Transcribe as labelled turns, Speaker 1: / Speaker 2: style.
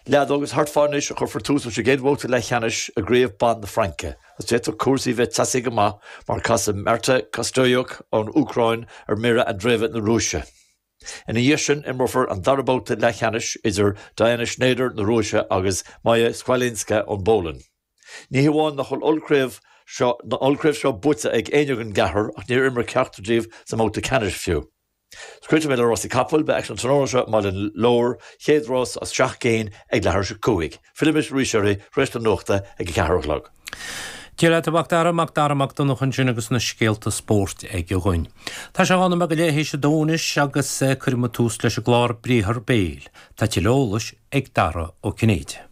Speaker 1: Leath agus thart fá anois a chuirfear tús leis an gcéad bhabhta leathcheannais i gCraobh Ban na Fraince agus d'fhéadfadh cúrsaí bheith teasaí go maith mar casfaidh Marta Kostyuk ón Úcráin ar Mirra Andreeva na Rúise. Ina dhiaidh sin imreofar an dara babhta leathcheannais idir Diana Shnaider na Rúise agus Maja Chwalińska ón bPólainn. Ní hamháin nach bhfuil ollchraobh seo an ollchraobh seo buaite ag éinne den gceathrar ach níor imir ceachtar díobh sa mbabhta ceannais fiú. Críochnóidh mé le rásaí capall, beidh aicsean tráthnóna seo i mBaile an Lobhair, chéad rás as 7 gcinn ag leathuair tar éis 5. Fillfidh mé arís oraibh tar éis na nuachta ag a ceathair a chlog.
Speaker 2: Dia leat a Mhac Dara, Mac Dara Mac Donncha ansin agus na scéalta spóirt aige dhúinn. Tá sé 12 nóiméad go leith théis a dó anois agus cuirfidh muid tús leis an gclár Briathar Béil. Tá tuilleadh eolais ag Dara Ó Cinnéide.